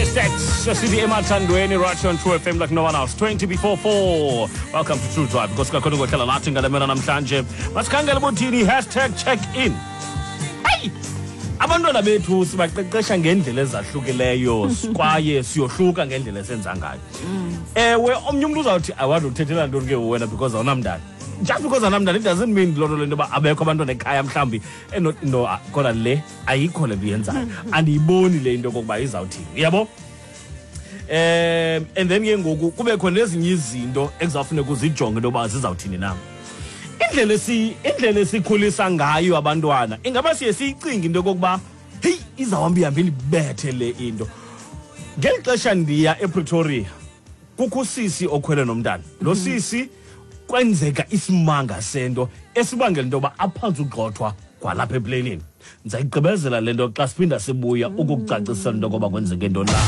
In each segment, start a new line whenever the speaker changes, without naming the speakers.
Stacks, sithi emathandweni right here on True FM like no one else. 20 before 4. Welcome to True Drive. Nkosi kakhulu ngohlala nathi ngale mena namhlanje. Masikhangele bothini #checkin. Hey! Abantwana bethu sibaqeqesha ngendlela ezahlukileyo kwaye siyohluka ngendlela esenza ngayo. Ewe, omnye umntu uzawuthi awande uthethela ntoni ke wena because awunamntana. Just because awunamntana it doesn't mean loo nto le nto yoba abekho abantwana ekhaya mhlawumbi no kodwa le ayikho le nto uyenzayo. Andiyiboni le into okokuba izawuthini. Uyabo? And then ke ngoku kubekho nezinye izinto ekuzawufuneka uzijonge into yoba zizawuthini na. Indlela indlela esikhulisa ngayo abantwana ingaba siye siyicinge into yokokuba heyi izawuhamba ihambe indibethe le into. Ngeli xesha ndiya ePretoria kukho usisi okhwele nomntana. Lo sisi kwenzeka isimanga sento esibangela into yoba aphantse ugxothwa kwalapha epleyinini. Ndizayigqibezela le nto xa siphinda sibuya ukukucacisela into yokoba kwenzeke ntoni na.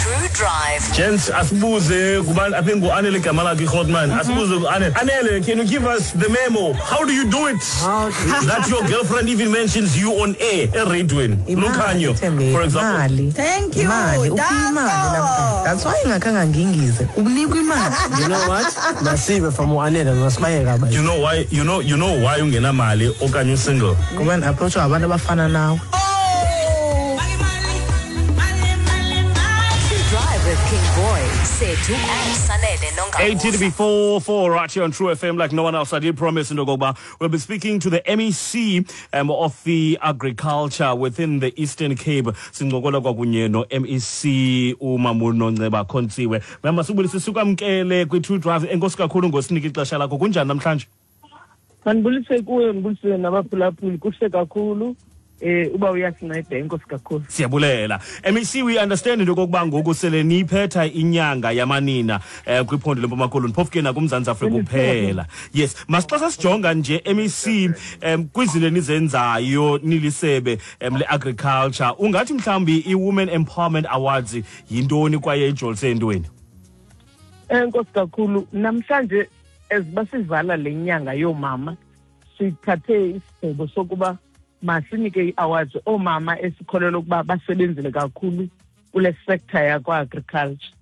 #TrueDrive. Gents, asibuze kubantu, I think ngu-Anele igama lakhe iGrootman. Asibuze ku-Anele. Anele, can you give us the memo? How do you do it? That your girlfriend even mentions you on air, eradweni. Lukhanyo, for example.
Thank you.
Imali, uphiwa imali namhlanje. That's why ingakhange ngingize. Unikwa imali.
You know what? Masive from uAnele masibayeka ba.
You know why, you know why ungenamali okanye usingle?
Ngoba ndi-approachwa ngabantu abafana nawe.
True Drive with King Boy, Sethu and Sanele Nongabuse.
18 before 4 right here on True FM like no one else. I did promise into okokuba we'll be speaking to the MEC of the agriculture within the Eastern Cape. Sincokola kwakunye no MEC uMamunonceba Khontsiwe. Mama, sibulise sikwamkele kwi True Drive. Enkosi kakhulu ngosinika ixesha lakho. Kunjani namhlanje?
Mandibulise kuwe, ndibulise nabaphulaphuli. Kuhle kakhulu. Uba uyasinceda, enkosi kakhulu.
Siyabulela. MEC, we understand into yokokuba ngoku sele niyiphetha inyanga yamanina kwiphondo leMpuma Koloni, phofu ke nakuMzantsi Afrika kuphela. Yes, masixa sasijonga nje MEC kwizinto enizenzayo nilisebe le-agriculture, ungathi mhlawumbi i-Women Empowerment Awards yintoni kwaye ijolise entweni?
Enkosi kakhulu. Namhlanje eziba sivala le nyanga yoomama, sithathe isigqibo sokuba masinike ii-awards oomama esikholelwa ukuba basebenzile kakhulu kule sector yakwa-agriculture,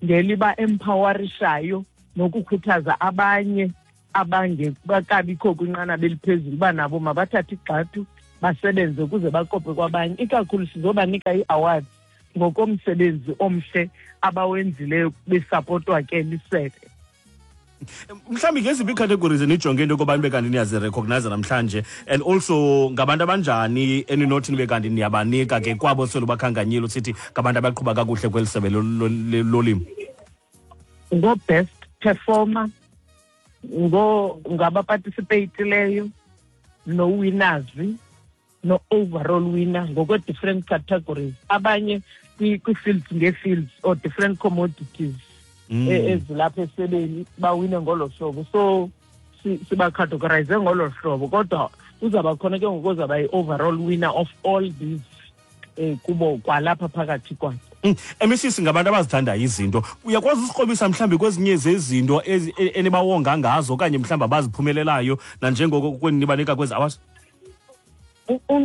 ngeliba empowerishayo nokukhuthaza abanye abangekabikho kwinqanaba eliphezulu uba nabo mabathathe igxathu basebenze ukuze bakope kwabanye. Ikakhulu sizobanika ii-awards ngokomsebenzi omhle abawenzileyo besapotwa ke lisebe.
Mhlawumbi ngeziphi ii-categories enijonge into yokoba nibe kanti niyazirecognize namhlanje, and also ngabantu abanjani eninothi nibe kanti niyabanika ke kwabo sele bakhankanyile usithi ngabantu abaqhuba kakuhle kweli sebe lolimo?
Ngo-best performer, ngabaparticipatileyo, no-winners, no-overall winner ngokwe-different categories. Abanye kwi-fields nge-fields or different commodities ezilapha esebeni bawine ngolo hlobo. So sibacategorize ngolo hlobo, kodwa uzawuba khona ke ngoku ozawuba yi-overall winner of all these kubo kwalapha phakathi kwakhe.
MEC, singabantu abazithandayo izinto. Uyakwazi usikrobisa mhlawumbi kwezinye zezinto enibawonga ngazo okanye mhlawumbi abaziphumelelayo nanjengoko kwenibanika kwezi awards?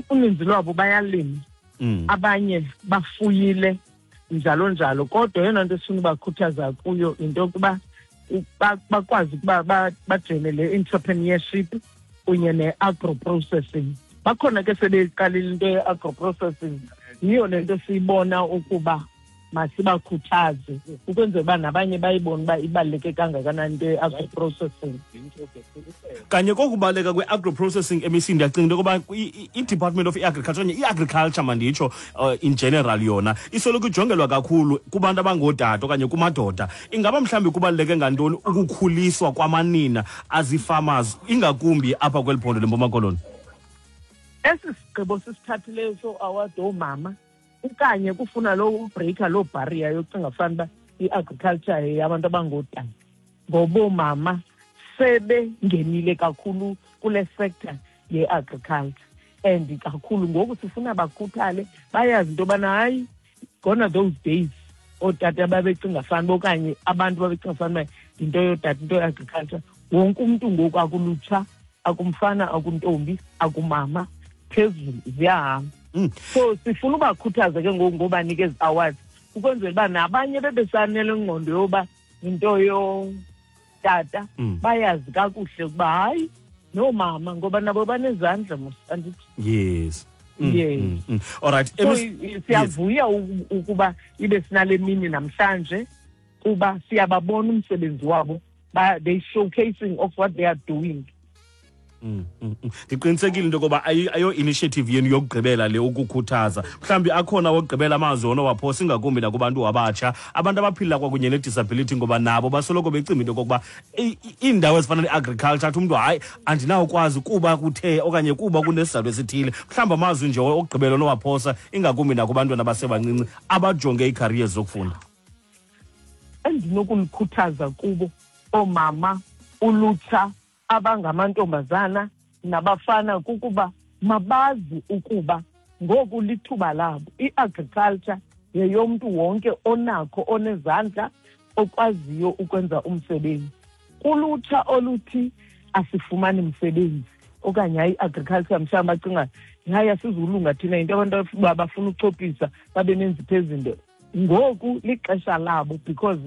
Uninzi lwabo bayalima. Abanye bafuyile njalo njalo, kodwa eyona nto esifuna ubakhuthaza kuyo yinto yokuba bakwazi ukuba bajoyine le entrepreneurship kunye ne-agro-processing. Bakhona ke sebeyiqalile into ye-agro-processing, yiyo le nto siyibona ukuba masibakhuthaze ukwenzela uba nabanye bayibone uba ibaluleke kangakanani into ye-agro-processing.
Kanye kokubaleka kwe-agro-processing, MEC, ndiyacinga into yokuba i-Department of I-Agriculture okanye i-agriculture manditsho in general yona isoloko ijongelwa kakhulu kubantu abangootata okanye kumadoda. Ingaba mhlawumbi kubaluleke ngantoni ukukhuliswa kwamanina azii-farmers ingakumbi apha kweli phondo leMpuma Koloni?
Esi sigqibo sisithathileyo so-award oomama okanye kufuna lo ubreaker loo barrier yokucinga fanuba i-agriculture yeyabantu abangootata, ngoba oomama sebengenile kakhulu kule sector ye-agriculture and kakhulu ngoku sifuna bakhuthale, bayazi into yobana hayi, gone are those days ootata babecinga fanuba okanye abantu babecinga fanuba yinto yootata, into ye-agriculture. Wonke umntu ngoku, akulutsha, akumfana, akuntombi, akumama, phezulu ziyahamba. So sifuna ubakhuthaza ke ngoku ngobanika ezi awards. Ukwenzela uba nabanye bebesanele ngqondo yoba yinto yotata, bayazi kakuhle ukuba hayi noomama, ngoba nabo banezandla mos, andithi?
Yes.
Yes.
All right.
So siyavuya ukuba ibe sinale mini namhlanje, kuba siyababona umsebenzi wabo, they showcasing of what they are doing.
Ndiqinisekile into yokoba ayo initiative yenu yokugqibela le ukukhuthaza. Mhlawumbi akhona wokugqibela amazwi onowaphosa, ingakumbi nakubantu abatsha, abantu abaphila kwakunye ne-disability, ngoba nabo basoloko becimba into yokokuba iindawo ezifana ne-agriculture, athi umntu hayi andinawukwazi kuba kuthe okanye kuba kunesizathu esithile. Mhlawumbi amazwi nje okugqibela onowaphosa, ingakumbi nakubantwana abasebancinci abajonge ii-careers zokufunda.
Endinokulikhuthaza kubo oomama, ulutsha abangamantombazana nabafana, kukuba mabazi ukuba ngoku lithuba labo. I-agriculture yeyomntu wonke onakho, onezandla, okwaziyo ukwenza umsebenzi. Kulutsha oluthi asifumani msebenzi okanye hayi i-agriculture, mhlawumbi bacinga hayi asizulunga thina, yinto abantu bafuna uchophisa babe nenzipho ezinto. Ngoku lixesha labo, because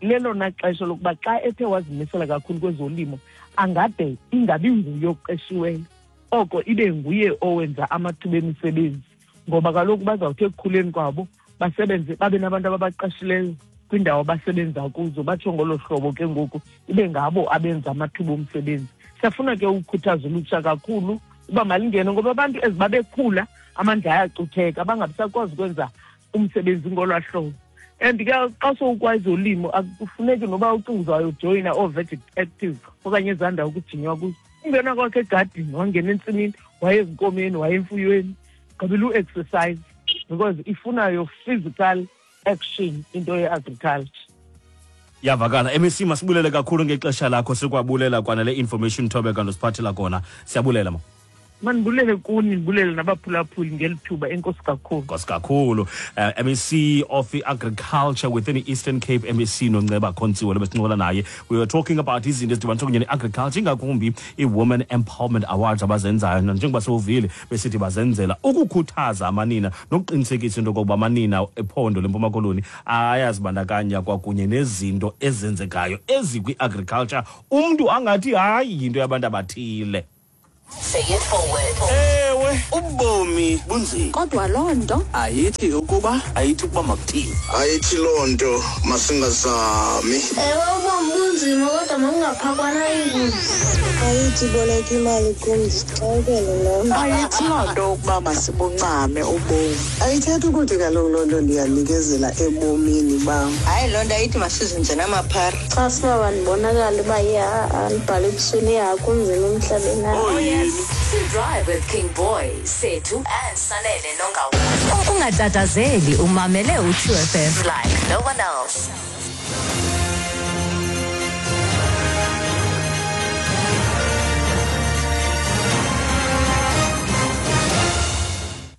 lelona xesha lokuba xa ethe wazimisela kakhulu kwezolimo, angade ingabi nguye oqeshiweyo, oko ibe nguye owenza amathuba emisebenzi, ngoba kaloku bazawuthi ekukhuleni kwabo basebenze, babe nabantu ababaqashileyo kwiindawo abasebenza kuzo, batsho ngolo hlobo ke ngoku ibe ngabo abenza amathuba omsebenzi. Siyafuna ke ukukhuthaza ulutsha kakhulu uba malingene, ngoba abantu ezi babekhula amandla ayacutheka, bangabisakwazi ukwenza umsebenzi ngolwaa hlobo. And ke xa sowukwazi ulimo, akufuneki noba ucinga uzawujoyina oo-Veg Active okanye ezaa ndawo kujinywa kuzo. Ungena kwakhe egadini, wangena entsimini, waye ezinkomeni, waye emfuyweni, gqibela u-exercise, because ifuna your physical action into ye-agriculture.
Yavakala. MEC, masibulele kakhulu ngexesha lakho, sikwabulela kwanale information Thobeka nosiphathela kona. Siyabulela ma.
Mandibulele kuni, ndibulele nabaphulaphuli ngeli thuba. Enkosi kakhulu.
Enkosi kakhulu. MEC of Agriculture within the Eastern Cape, MEC Nonceba Kontsiwe lo besincokola naye. We were talking about izinto ezidibanisa kunye ne-agriculture, ingakumbi i-Women Empowerment Awards abazenzayo, njengoba sewuvile besithi bazenzela ukukhuthaza amanina nokuqinisekisa into yokokuba amanina ephondo leMpuma Koloni ayazibandakanya kwakunye nezinto ezenzekayo ezikwi-agriculture, umntu angathi hayi yinto yabantu abathile.
Say it forward.
Ewe, ubomi bunzima.
Kodwa loo nto
ayithi ukuba makuthini.
Ayithi loo nto masingazami.
Ewe, ubomi bunzima kodwa makungaphakwana ingubo.
Ayithi boleka imali kum ndixakekele nam.
Ayithi loo nto ukuba masibuncame ubomi.
Ayithethi ukuthi kaloku loo nto ndiyanikezela ebomini bam.
Hayi, loo nto ayithi masizinze namaphara.
Xa sibaba ndibonakala uba ndibhale ebusweni, ya kunzima emhlabeni.
Oh yes. To Drive with King Boy, Sethu and Sanele Nonga. Ungatatazeli, umamele u2 FM like no one else.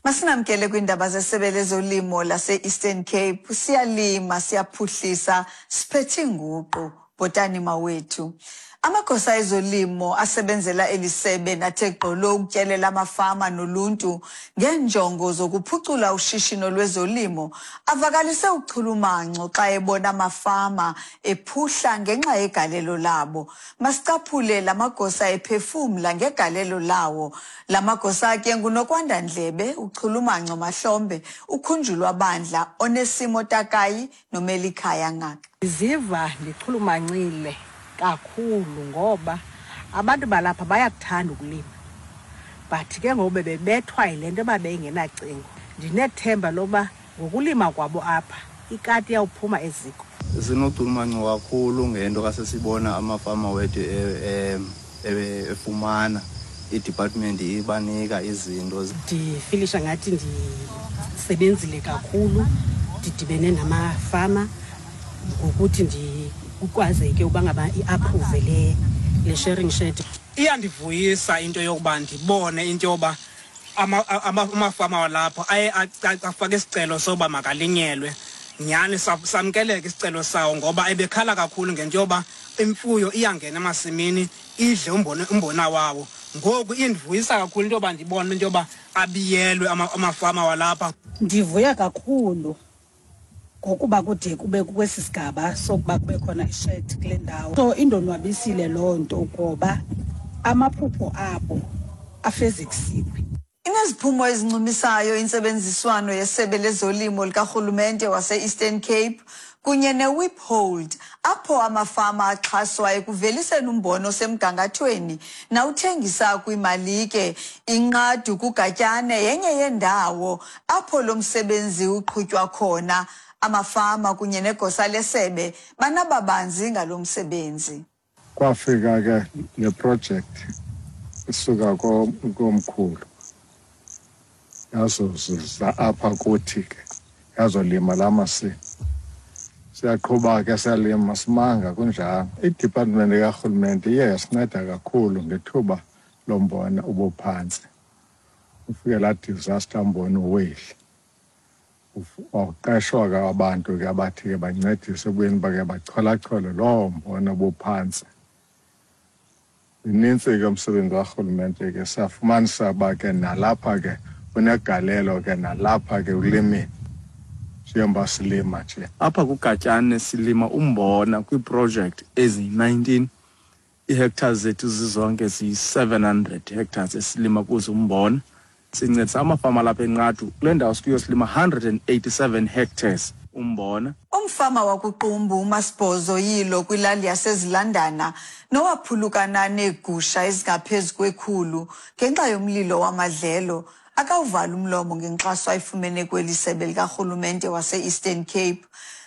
Masinamkele kwiindaba zesebe lezolimo lase-Eastern Cape. Siyalima, siyaphuhlisa, siphethe inguqu. Bhotani mawethu. Amagosa ezolimo asebenzela eli sebe nathe gqolo ukutyelela amafama noluntu ngeenjongo zokuphucula ushishino lwezolimo avakalise uchulumanco xa ebona amafama ephuhla ngenxa yegalelo labo. Masicaphule la magosa ephefumla ngegalelo lawo. La magosa ke nguNokwanda Ndlebe, uChulumanco Mahlombe, uKhunjulwa Bandla, Onesimo Takayi noMelikhaya Ngaka.
Ndiziva ndichulumancile kakhulu ngoba abantu balapha bayakuthanda ukulima, but ke ngoku bebebethwa yile nto yoba bengenacingo. Ndinethemba loba ngokulima kwabo apha ikati iyawuphuma eziko.
Sinochulumanco kakhulu ngento kasesibona amafama wethu efumana i-department ibanika izinto.
Ndifilisha ngathi ndisebenzile kakhulu, ndidibene namafama ngokuthi ndikukwazeke uba ngaba i-approve le sharing shed.
Iyandivuyisa into yokuba ndibone into yoba amafama walapho aye afake isicelo soba makalinyelwe. Nyhani samkeleke isicelo sawo, ngoba ebekhala kakhulu ngento yoba imfuyo iyangena emasimini idle umbona wawo. Ngoku indivuyisa kakhulu into yoba ndibone into yoba abiyelwe amafama walapha.
Ndivuya kakhulu Ngokuba kude kube kwesi sigaba sokuba kube khona ished kule ndawo. So indonwabisile loo nto ngoba amaphupho abo afezekisiwe.
Ineziphumo ezincumisayo intsebenziswano yeSebe lezoLimo likarhulumente wase-Eastern Cape kunye neWiphold apho amafama axhaswa ekuveliseni umbona osemgangathweni nawuthengisa kwimalike. Inqadu kuGatyane yenye yeendawo apho lo msebenzi uqhutywa khona. Amafama kunye negosa lesebe banababanzi ngalo msebenzi.
Kwafika ke le project isuka komkhulu yazozuza apha kuthi ke yazolima la masimi. Siyaqhuba ke siyalima simanga kunjalo. I-department karhulumente iye yasinceda kakhulu ngethuba lombona ubuphantsi. Ufike laa disaster umbona uweli. Waqeshwa ke abantu ke abathi ke bancedise ebuyeni bake bacholachole loo mbona obuphantsi. Inintsi ke umsebenzi karhulumente ke safumanisa uba ke nalapha ke unegalelo ke nalapha ke ulimile. Njengoba silima nje.
Apha kuGatyane silima umbona kwiiprojekthi eziyi-19. Ii-hectares zethu zizonke ziyi-700 hectares esilima kuzo umbona. Sincedisa amafama alapha eNqadu. Kule ndawo sikuyo silima 187 hectares umbona.
Umfama wakuQumbu uMasibhozo Yilo kwilali yaseZilandana nowaphulukana neegusha ezingaphezu kwekhulu ngenxa yomlilo wamadlelo akawuvali umlomo ngenkxaso ayifumene kweli sebe likarhulumente wase-Eastern Cape.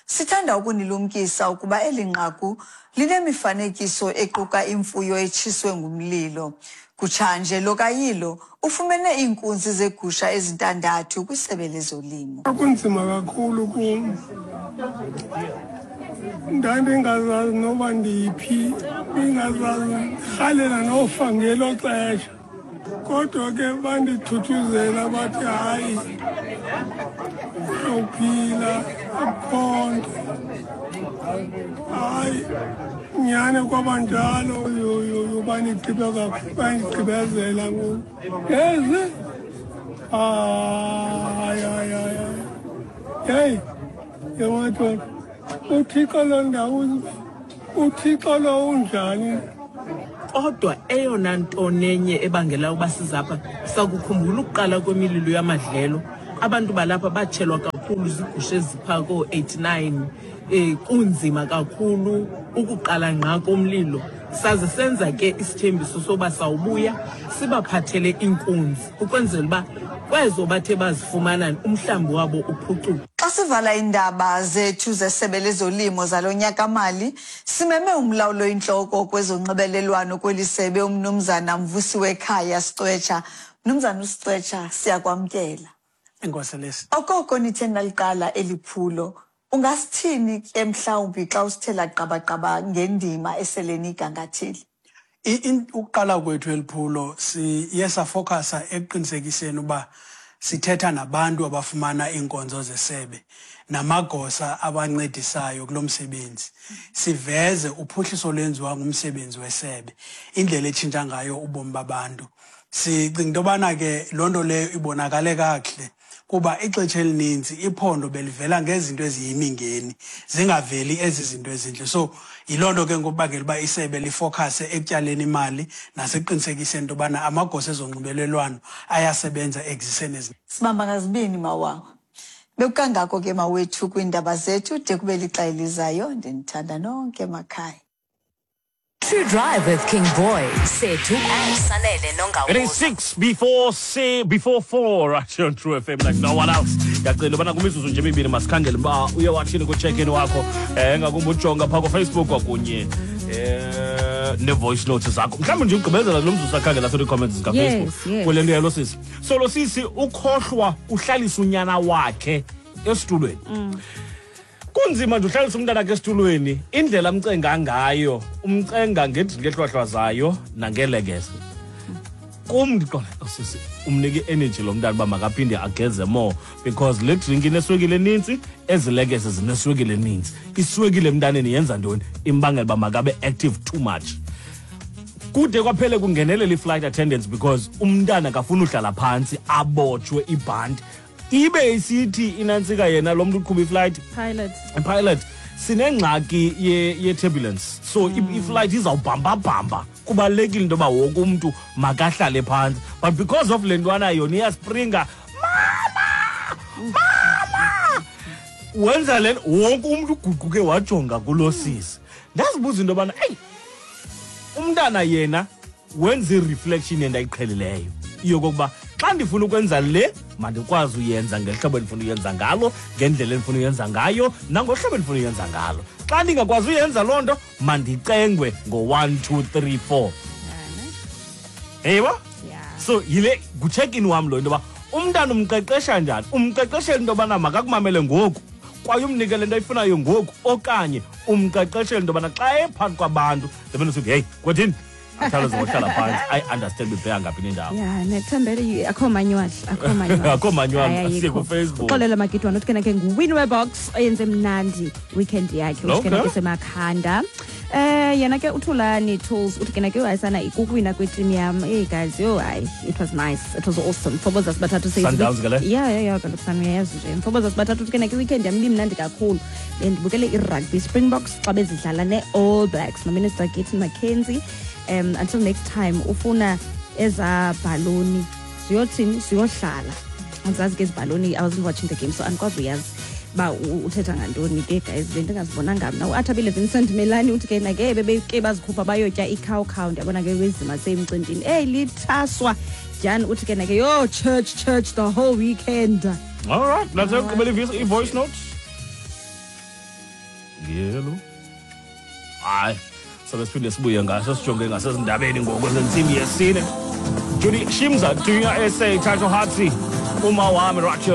Sithanda ukunilumkisa ukuba eli nqaku linemifanekiso equka imfuyo etshiswe ngumlilo. Kutshanje lo kaYilo ufumene iinkunzi zegusha ezintandathu kwisebe lezolimo.
Kunzima kakhulu kum. Ndandingazazi noba ndiphi, ndingazazi, ndirhalela nofa ngelo xesha. Kodwa ke bandithuthuzela bathi hayi, uphila akukho nto. Hayi, nyhani kwaba njalo, bandigqibezela ngoku. Ezi? Hayi, hayi, hayi, hayi. Heyi, yemadoda, uThixo lo ndawo, uThixo lo unjani?
Kodwa eyona nto nenye ebangela uba sizapha, sakukhumbula ukuqala kwemililo yamadlelo. Abantu balapha batshelwa kakhulu zigusha ezipha koo-89. Kunzima kakhulu ukuqala ngqa komlilo. Saze senza ke isithembiso soba sawubuya sibaphathele iinkunzi ukwenzela uba kwezo bathe bazifumana umhlambi wabo uphucuke.
Xa sivala iindaba zethu zesebe lezolimo zalo nyaka-mali, simeme umlawuli oyintloko kwezonxibelelwano kweli sebe umnumzana Mvusiwekhaya Sicwetsha. Mnumzana uSicwetsha, siyakwamkela.
Enkosi Lesi.
Okoko nithe naliqala eli phulo, ungasithini ke mhlawumbi xa usithela qabaqaba ngendima esele niyigangathile?
Ukuqala kwethu eli phulo siye safokasa ekuqinisekiseni uba sithetha nabantu abafumana iinkonzo zesebe namagosa abancedisayo kulo msebenzi. Siveze uphuhliso olwenziwa ngumsebenzi wesebe, indlela etshintsha ngayo ubomi babantu. Sicinga into yobana ke loo nto leyo ibonakale kakuhle kuba ixesha elininzi iphondo belivela ngezinto eziyimingeni, zingaveli ezi zinto ezintle. So yiloo nto ke ngokubangela uba isebe lifokase ekutyaleni imali nasekuqinisekiseni into yobana amagosa ezonxibelelwano ayasebenza ekuziseni ezi.
Sibamba ngazibini mawawa. Bekukangako ke mawethu kwiindaba zethu de kube lixa elizayo. Ndinithanda nonke emakhaya.
True Drive with King Boy, Sethu and Sanele Nongawuza.
It is 6 before say before 4 right here on True FM like no one else. Ngiyacela ubana kumizuzu nje emibini masikhangele uba uye wathini ku-check-in wakho ngakumbi ujonga phaa kuFacebook kwakunye ne-voice notes zakho. Mhlawumbi nje ugqibezela lo mzuzu sakhangela soo comments zikaFacebook.
Yes.
Kule nto yalo sisi. So lo sisi ukhohlwa uhlalisa unyana wakhe esitulweni. Kunzima nje uhlalisa umntana ke esitulweni, indlela amcenga ngayo, umcenga ngedrinki ehlwahlwazayo nangelekese. Kum ndiqonda, oh, sisi, umnike i-energy lo mntana uba makaphinde ageze more because le drink ineswekile enintsi, ezi lekese zineswekile enintsi. Iswekile emntaneni yenza ntoni? Imbangela uba makabe active too much. Kude kwaphele kungenelela i-flight attendants because umntana akafuni uhlala phantsi abotshwe ibhanti. Ibe isithi inantsika yena lo mntu uqhuba iflight,
pilot,
pilot, sinengxaki ye-turbulence, so iflight izawubhambabhamba, kubalulekile into yoba wonke umntu makahlale phantsi. But because of le ntwana yona iyaspringa, mama, mama, wenza le nto, wonke umntu uguquke wajonga kulo sisi. Ndazibuza into yobana eyi, umntana yena wenza i-reflection endayiqhelileyo yokokuba xa ndifuna ukwenza le, mandikwazi uyenza ngehlobo endifuna uyenza ngalo, ngendlela endifuna uyenza ngayo, nangohlobo endifuna uyenza ngalo. Xa ndingakwazi uyenza loo nto, mandicengwe ngo-1 2 3 4, eyibo. So yile ngucheck-in wam lo, into yoba umntana umqeqesha njani, umqeqeshela into yobana makakumamele ngoku kwaye umnike le nto ayifunayo ngoku, okanye umqeqeshela into yobana xa ephakathi kwabantu ndibe ndisithi, heyi kwethini, akhawuleze ngohlala phantsi, i-understand ibheka ngaphi nendawo.
Ya, nethembele, akho manual, akho manual.
Akho manual.
Hayi,
Asiye
ayikho.
kuFacebook.
Uxolela Magidwana uthi ke nguwinwe box oyenze mnandi weekend yakhe, uthi ke semakhanda. Yena ke uThulani Tools uthi ke ayisana ikukuwina kweteam yam. Hey guys, yo hayi, it was nice. It was awesome. Mfoboza sibathathu says
Sundowns ke le?
Yeah, kaloku sami uyayazi nje. Mfoboza sibathathu uthi ke weekend yam ibimnandi kakhulu. Bendibukele i-rugby, Springboks xa bezidlala ne-All Blacks noMinister Gayton McKenzie. Until next time, ufuna eza bhaloni ziyothini, ziyohlala. Andizazi ke ezibhaloni, I wasn't watching the game, so andikwazi uyazi uba uthetha ngantoni ke guys, bendingazibonanga mna. Uathabile Vincent Melani uthi ke nake bebeke bazikhupha bayotya ikhawukhawu, ndiyabona ke wezima semcimbini. Eyi, lithaswa Jan uthi ke nake yo church church the whole weekend.
All right, let's yokugqibela i-voice note. Yelo, hayi, sobe siphinde sibuye ngaso, sijonge ngasezindabeni ngoku zentsimbi yesine. Judy Shimza, Junior SA, Thato Hatsi, uma wami right here.